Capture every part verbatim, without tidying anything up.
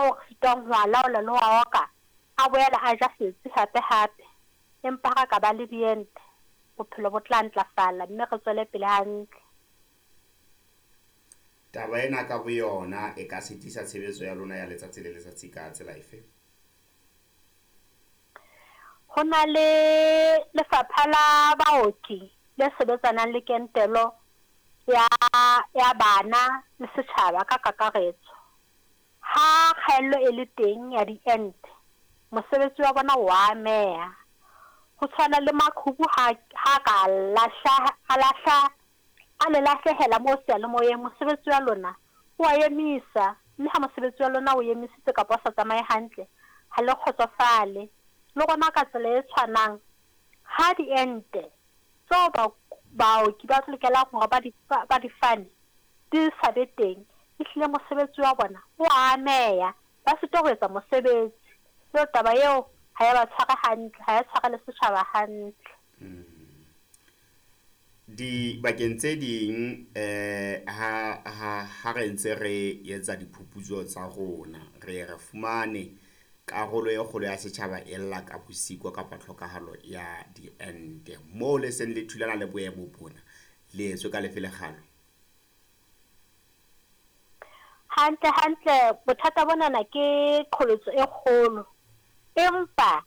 ao re sitwang ho a laola le ho a oka, a boela a ja setsi hape-hape. Empa ha re ka ba le diente, bophelo bo tla ntlafala mme re tswele pele hantle. Taba ena ka boyona e ka sitisa tshebetso ya lona ya letsatsi le letsatsi ka tsela efe? Ho na le lefapha la baoki le sebetsanang le kentelo ya ya bana le setjhaba ka kakaretso. Ha kgaello e le teng ya diente, mosebetsi wa bona wa ameha. Ho tshwana le maqhubu ha ha ka lahla a lahla a le lahlehela moo seyalemoyeng, mosebetsi wa lona o wa emisa. Mme ha mosebetsi wa lona o emisitse kapa o sa tsamaye hantle, ha le kgotsofale. Le rona ka tsela e tshwanang, ha diente tseo baoki ba lokelang hore ba di ba di fane di sa be teng, ehlile mosebetsi wa bona o ameha. Ba sitwa ho etsa mosebetsi. Eo taba eo ha ya ba tshware hantle, ha ya tshwara le setjhaba hantle. Dibakeng tse ding eh ha ha ha re ntse re etsa diphuputso tsa rona, re re fumane karolo e kgolo ya setjhaba e lla ka bosiko kapa tlhokahalo ya diente. Moo le seng le thulana le boemo bona, le etswe ka lefe lekgalo? Hantle hantle bothata bonana ke qholotso e kgolo. Empa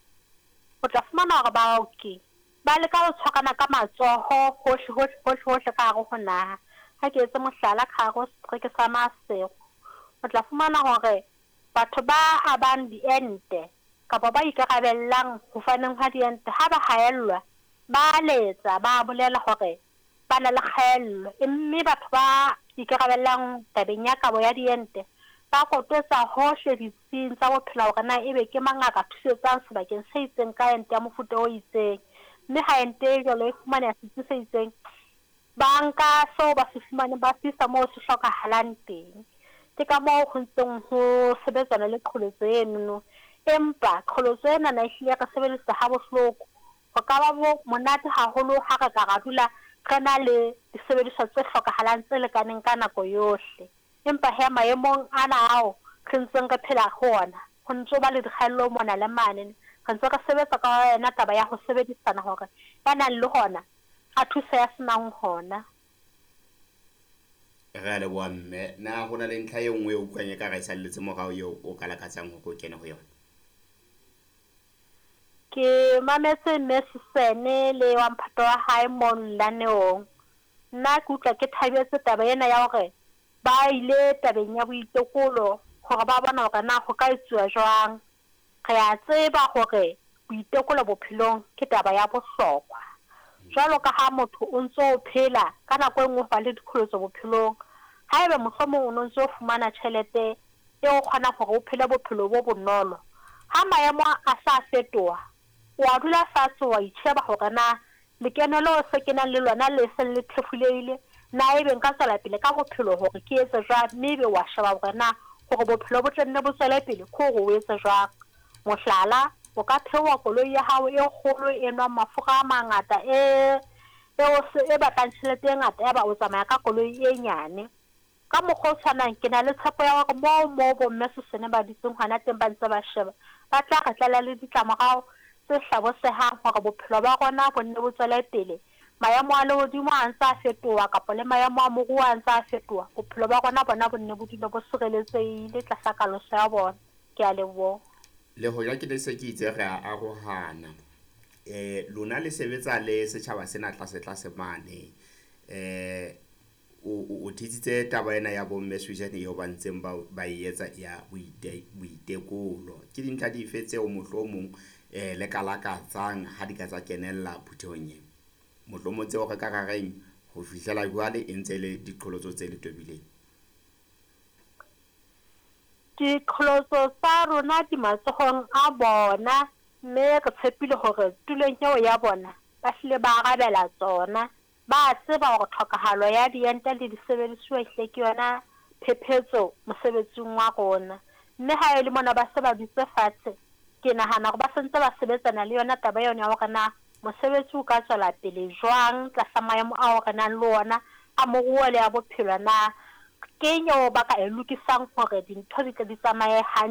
o tla fumana hore baoki ba leka ho tshwarana ka matsoho hohle hohle hohle hohle ka hare ho naha. Ha ke etse mohlala ka hare ho setereke sa Maseru, o tla fumana hore batho ba abang diente kapa ba ikarabellang ho faneng ha diente ha ba haellwa, ba letsa ba bolela hore ba na le kgaello. Mme batho ba ikarabellang tabeng ya kabo ya diente ba kototsa hohle ditsing tsa bophelo hore na ebe ke mang a ka thusetsang sebakeng se itseng ka ente ya mofuta o itseng. Mme ha ente e jwalo e fumaneha setsi se itseng, ba nka seo ba se fumaneng ba se isa moo se hlokahalang teng. Ke ka moo ho ntseng ho sebetsana le qholotso enono. Empa qholotso enana ehlile re sebedisa ha bohloko. Ho ka ba bo monate haholo ha re ka ra dula re na le disebediswa tse hlokahalang tse lekaneng ka nako yohle. Empa hee maemong ana ao re ntseng re phela ho ona, ho ntso ba le dikgaello mona le mane. Re ntse re sebetsa ka yona taba ya ho sebedisana hore ya nang le hona a thuse ya senang hona. Re a leboha mme. Na ho na le ntlha e nngwe e utlwang e ka re e salletse morao eo o ka lakatsang hore o kene ho yona? Ke mametse mme Sisene le wa mphato wa hae mono lenaneong. Nna ke utlwa ke thabetse taba ena ya hore ba ile tabeng ya boitekolo hore ba bona hore na ho ka etsuwa jwang. Re a tseba hore boitekolo bophelong ke taba ya bohlokwa. Jwalo ka ha motho o ntso o phela ka nako e nngwe ho ba le diqholotso bophelong. Haeba mohlomong o no ntso fumana tjhelete eo kgonang hore o phele bophelo bo bonolo, ha maemo a sa fetoha, wa dula fatshe wa itjheba hore na lekeno leo se kenang le lona le seng le thefulehile, na ebe nka tswela pele ka bophelo hore ke etse jwang, mme ebe wa sheba hore na hore bophelo bo tle nne bo tswele pele ke hore o etse jwang. Mohlala, o ka theoha koloi ya hao e kgolo e nwang mafura a mangata e e batlang tjhelete e ngata, ya ba o tsamaya ka koloi e nyane. Ka mokgwa o tshwanang, ke na le tshepo ya hore moo moo bo mme Sisene ba dutseng hona teng ba ntse ba sheba, ba tla re tlela le ditlamorao tse hlabosehang hore bophelo ba rona bo nne bo tswele pele. Maemo a lehodimo a ntse a fetoha kapa le maemo a moruo a ntse a fetoha, bophelo ba rona bona bo nne bo dule bo sireletsehile tlasa kaloso ya bona. Ke a leboha. Le hoja ke ne se ke itse re a arohana, eh lona le sebetsa le setjhaba sena tlase tlase mane. Eh o o thetsitse taba ena ya bo mme Suzan eo ba ntseng ba ba e etsa ya boite boitekolo. Ke dintlha dife tseo mohlomong eh le ka lakatsang ha di ka tsa kenella phuthehong ena? Mohlomong tseo re ka ra reng ho fihlela jwale e ntse le diqholotso tse le tobileng. Diqholotso tsa rona di matsohong a bona, mme re tshepile hore tulong eo ya bona ba hlile ba arabela tsona. Ba tseba hore tlhokahalo ya diente le disebedisuwa ehlile ke yona phephetso mosebetsing wa rona. Mme ha e le mona ba se ba dutse fatshe, ke nahana hore ba sentse ba sebetsana le yona taba eno ya hore na mosebetsi o ka tswela pele jwang tlasa maemo ao re nang le ona a moruo le a bophelo na. Keng eo ba ka e lokisang hore dintho di tle di tsamaye hantle.